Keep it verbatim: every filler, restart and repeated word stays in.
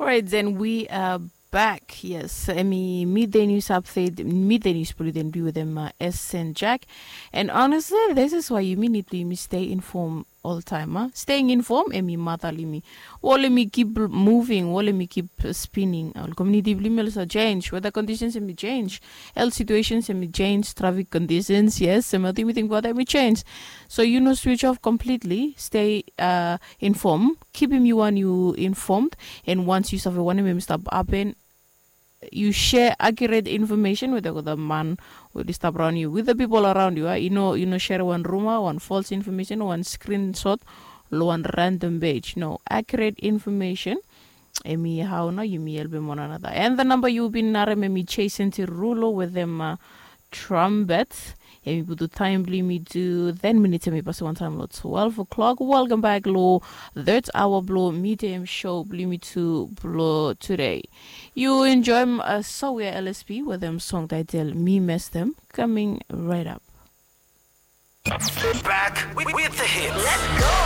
Right, then we are back. Yes, emi midday news update, midday news blo yumi, then be with them uh, S and Jack. And honestly, this is why yumi need to yumi stay informed all time. Huh? Staying informed, emi mata blo yumi. Wol emi keep moving, wol emi keep spinning. Ol community blo yumi also change. Weather conditions emi change. Health situations emi change. Traffic conditions, yes. Emi ting about emi change. So you know, switch off completely. Stay uh, informed. Keep him you want you informed. And once you suffer one emi stop happen, you share accurate information with the man who is stop around you, with the people around you. Uh, you know, you know, share one rumor, one false information, one screenshot, lo one random page. No, accurate information. Emi how no, you me help him one another. And the number you been narem emi Jason Tirulo with them uh, trumpet. Emi putu taem blo yumi tu ten minutes emi pasim wantaem lo twelve o'clock. Welcome back lo third hour blo midday show blo yumi tu blo today. You enjoy uh, so we are L S P with them song title Mi Mes Them coming right up. Back with, with the hits.